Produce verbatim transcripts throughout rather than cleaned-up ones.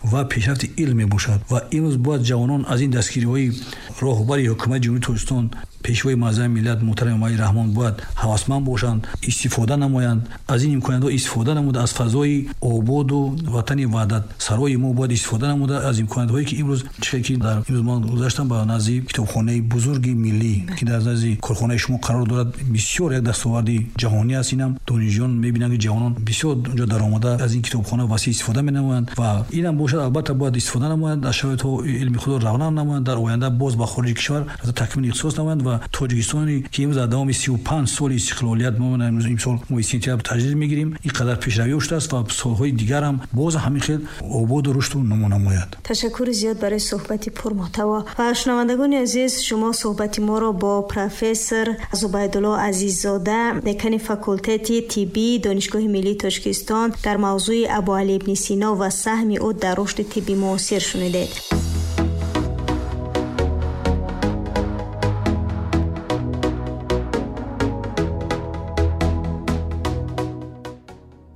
Ва пешрафти илм мебошад. Ва имрӯз бояд ҷавонон аз ин дастгириҳои роҳбари ҳукумати Ҷумҳурии Тоҷикистон, Пешвои муаззами миллат муҳтарам Эмомалӣ Раҳмон бояд ҳавасманд бошанд, истифода намоянд, аз ин имкониятҳо истифода намуда, аз фазои ободу ватани ваҳдатсарои мо бояд истифода намуда, аз имкониятҳое ки имрӯз чӣ ки дар имрӯз ман гузаштам ба назди китобхонаи бузурги миллӣ, ки дар назди корхонаи шумо қарор дорад, бисёр як дастоварди ҷаҳонӣ аст. Инам донишҷӯён мебинанд, ки ҷавонон бисёр онҷо даромада аз ин китобхона васеъ истифода менамоянд ва инам бошад, албатта бояд истифода намоянд, аз шароитҳо илми худро равнақ намоянд, дар оянда боз ба хориҷи кишвар такмили ихтисос намоянд ва Тоҷикистоне ки имрӯз дар давоми сию панҷ соли истиқлолият мо имрӯз имсол моҳи сентябр таҷлил мегирем, ин қадар пешравӣ шудааст ва солҳои дигар ҳам боз ҳамин хел ободу рушду нумӯ намояд. Ташаккури зиёд барои суҳбати пурмуҳтаво. Ва шунавандагони азиз, шумо суҳбати моро бо профессор Зубайдулло Азиззода, декани факултети тиббии Донишгоҳи миллии Тоҷикистон дар мавзӯи Абуалӣ ибни Сино ва саҳми ӯ дар рушди тибби муосир шунидед.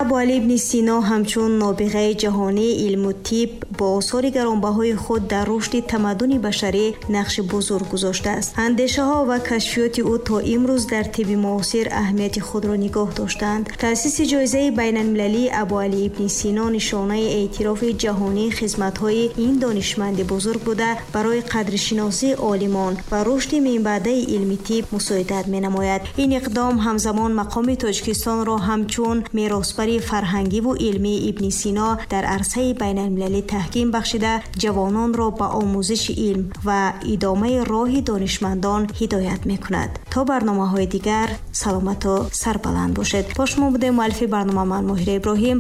Абуалӣ ибни Сино ҳамчун нобиғаи ҷаҳонии илму тиб бо осори гаронбаҳои худ дар рушди тамаддуни башарӣ нақши бузург гузоштааст. Андешаҳо ва кашфиёти ӯ то имрӯз дар тибби муосир аҳамияти худро нигоҳ доштаанд. Таъсиси ҷоизаи байналмилалии Абуалӣ ибни Сино нишонаи эътирофи ҷаҳонии хизматҳои ин донишманди бузург буда, барои қадршиносии олимон ва рушди минбаъдаи илми тиб мусоидат менамояд. Ин иқдом ҳамзамон мақоми Тоҷикистонро ҳамчун меросбари фарҳангиву илмии ибни Сино дар арсаи байналмилалӣ таҳким бахшида, ҷавононро ба омӯзиши илм ва идомаи роҳи донишмандон ҳидоят мекунад. То барномаҳои дигар саломату сарбаланд бошед. Бо шумо будем муаллифи барнома ман Моҳира Иброҳим.